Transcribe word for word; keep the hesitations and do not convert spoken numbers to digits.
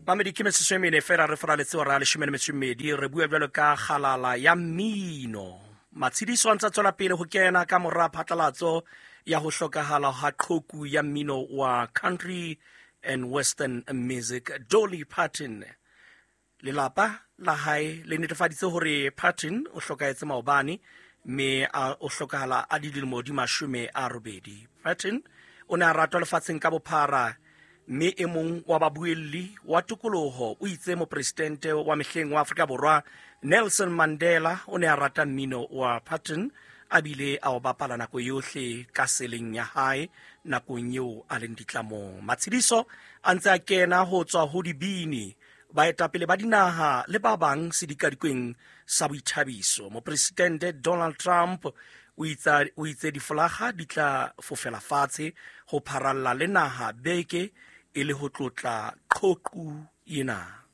Mamedi, ke metsotso e mene fela re faraletse hora ya leshome le metso e mmedi. Re bua jwalo ka kgalala ya mmino. Matshediso a ntse a tswela pele ho kena ka mora phatlalatso ya ho hlokahala ha qhoku ya mmino wa country and western music, Dolly Parton. Lelapa la hae le netefaditse hore Parton o hlokahetse maobane, mme a o hlokahala a le dilemo di mashome a robedi. Parton o ne a ratwa lefatsheng ka bophara, mme e mong wa babuelli wa tokoloho o itse mopresidente wa mehleng wa Afrika Borwa Nelson Mandela o ne a rata mmino wa Parton, a bile a o bapala nako yohle ka seleng ya hae nakong eo a leng ditlamong. Matshediso a ntse a kena ho tswa ho dibini, baetapele ba dinaha le ba bang sedikadikweng sa boithabiso. Mopresidente Donald Trump o itsa- o itse difolaga di tla fofela fatshe ho pharalla le naha beke e le ho tlotla qhoqu ena.